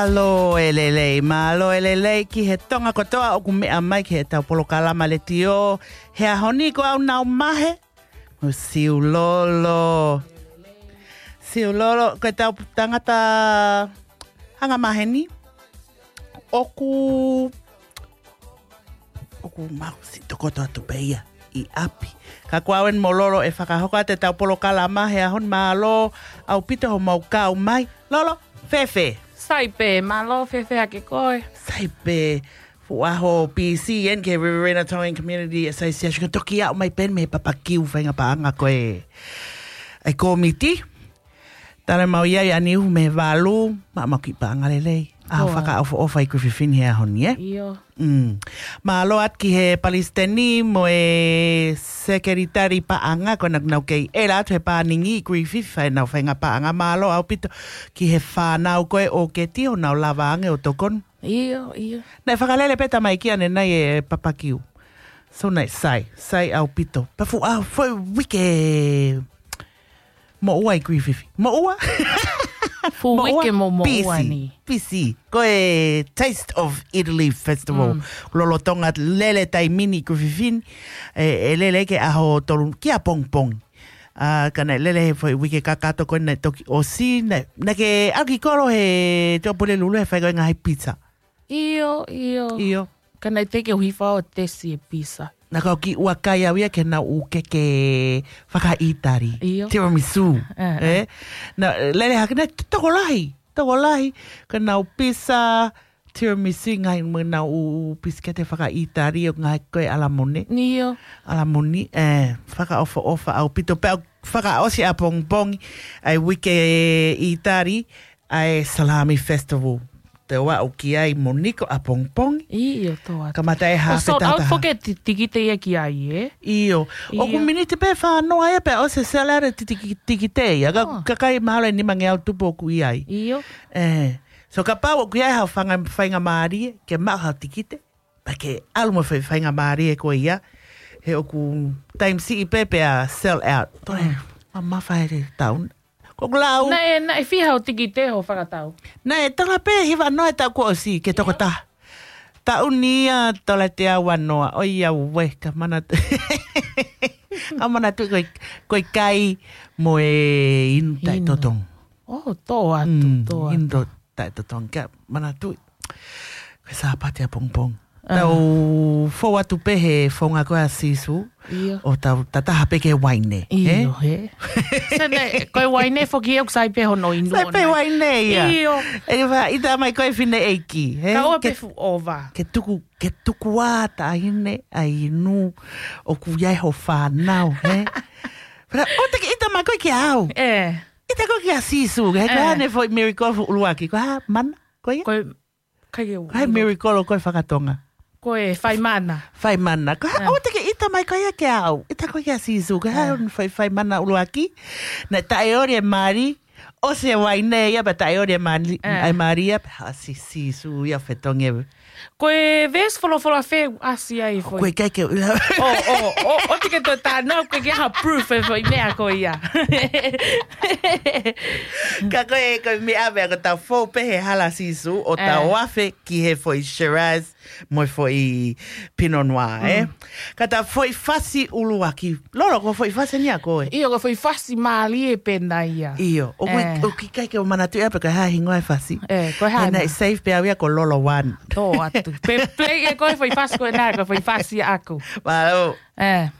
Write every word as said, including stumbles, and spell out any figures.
Mālō e lelei, mālō e lelei ki he Tonga kotoa ʻoku meʻa mai ki heʻetau polokalama letiō he ʻaho ni. Ko au Nau Mahe, mo Siulolo. Siulolo, ko ʻetau tangata anga maheni. ʻOku ʻOku mau siʻi tokoto atu pē ia ʻi ʻapi. Ka ko au eni mo Lolo ʻe fakahoko atu ʻetau polokalama he ʻaho ni. Mālō ʻaupito hoʻomou kau mai. Lolo, fēfē? Sai pē, mālō, fēfē hake koe? Sai pē, fuʻu ʻaho pisi eni ki he Riverina Tongan Community Association. Ka toki aʻu mai pē eni mei he papakiu faʻahinga paʻanga ko ē ʻa e kōmiti. Tala mau ia ʻi ʻaniuhu mei he valu, maʻa mau kiʻi paʻanga lelei. ʻAho fakaʻofoʻofa ʻi Griffith ʻi he ʻaho ni, ē? ʻIo. Mm. Mālō atu ki he palesiteni mo e sekelitali paʻanga, ko ʻenau kei ʻela atu he pāningi ʻi Griffith, fai ʻenau faʻahinga paʻanga. Mālō ʻaupito ki he fānau ko ē ʻo keti ʻo nau lava ange ʻo tokoni. ʻIo, ʻio. Naʻe fakalele pē tamaiki ʻanenai e papakiu. So naʻe sai, sai ʻaupito. Pea fuʻu ʻaho, foʻi uike moʻua ʻi Griffith. Moʻua? Fuʻu uike mo moʻua ni. Pisi. Ko e Taste of Italy Festival. Mm. Lolotonga lele taimi ni ʻi Griffith. ʻE, ʻe lele ki he ʻaho tolu, ki ʻapongipongi. ʻA, ka naʻe lele he foʻi uike kakato ko ē naʻe toki ʻosi, naʻe, naʻe ke ʻalu ki kolo he Tuʻapulelulu he fai ko ē ngaahi pizza. ʻIo, ʻio. ʻIo. Ka naʻe teʻeki ke u hifo ʻo tesi e pizza. Naʻa ku kiʻi ʻuakai au ia ki heʻenau keke fakaʻItali. ʻIo. Tiramisu. Ē, ē. Naʻe lele hake naʻe tokolahi, tokolahi. Ko ʻenau pizza, tiramisu, ngaahi mo ʻenau pisikete fakaʻItali ʻo ngaahi ko ē ʻalamone. ʻIo. ʻAlamone, ē, fakaʻofoʻofa ʻaupito pea fakaʻosi ʻapongipongi ʻa e uike ʻItali, ʻa e Salami Festival. Te u aʻu ki ai mo Niko ʻapongipongi. ʻIo, tō atu. Kamata e hā. ʻO sold out foki e ti-, tikite ia ki ai, ē? ʻIo. ʻIo. ʻOku miniti pē fānoa ia pea ʻosi e sell out e ti-, tiki-, tikite ia. Ka, kakai mahalo ʻe nimangeau tupu ʻoku ʻi ai. ʻIo. Ē. So kapau ʻoku ʻi ai haʻo faʻahinga, faʻahinga mālie, ke maʻu haʻo tikite. Pea ke ʻalu mo e fai-, faʻahinga mālie ko ia. He ʻoku taimi siʻi pē pea sell out. Toe, mamafa e taʻu ni. Ko ʻeku lau. Naʻe, naʻe fiha hoʻo tikite hoʻo fakatau? Naʻe tola pē hivanoa e taʻu kuo ʻosi ke tokotaha. Taʻu ni ia tola teau vanoa. ʻOiauē, ka manatu. Ka manatu ko e, ko e kai mo e inu taʻetotongi. ʻO, tō atu, tō atu. Inu taʻetotongi. Ka manatu. Ko e Sāpate ʻapongipongi. Tau fou atu pē he founga ko ē ʻa Sīsū. ʻIo. ʻO tau tataha pē ki he uaine. ʻIo, ē? He. Sene, ko e uaine foki ʻoku sai pē hono inu. Sai pē uaine ia. ʻIo. ʻE ke faʻa ʻita mai ko e fineʻeiki, he? Ka ʻoua pē fuʻu ʻova. Ke tuku, ke tuku ā taʻahine ʻa e inu ʻoku ʻi ai ho fānau, he? Pea ʻoua te ke ʻita mai koe kia au. Ē. ʻIta koe kia Sīsū, he ko e hā ʻene foʻi miracle fuʻu ʻuluaki, ko e hā mana, ko ia? Ko e Kai ke u. Kai miracle ko e fakatonga. Ko e fai mana. Fai mana. Ko e hā, ʻoua te ke ʻita mai ko ia kia au. ʻIta koe kia Sīsū. Ko e hā ʻene fai, fai mana ʻuluaki. Naʻe taʻeoli e mali. ʻOsi e uaine ia pea taʻeoli e mali. ʻA e mali ia pea ʻasi Sīsū ia fetongi. Ko e veesi folofola fē ʻasi ai foʻi? Ko e kai ke u ʻilo. ʻO, ʻo, ʻo, ʻoua te ke toe talanoa, ʻoku ʻikai ke ʻi ai ha proof e foʻi meʻa ko ia. Ka ko e, ko e meʻa, meʻa ko ʻetau fou pē he hala Sīsū, ʻo tau afe ki he foʻi Shiraz, mo e foʻi Pinot Noir, ē? Ka ʻetau foʻi fasi ʻuluaki. Lolo, ko e foʻi fasi eni ia ko ē? ʻIo, ko e foʻi fasi mālie pē ena ia. ʻIo, ʻoku ʻikai ke u manatuʻi ʻaupito ko e hā e hingoa e fasi. Ē, ko e hā ena? He naʻe save pē au ia ko Lolo One. Tō atu. Pe, pe, ʻe ko e foʻi fasi ko ena, ko e foʻi fasi ʻaʻaku. Mālō. Ē.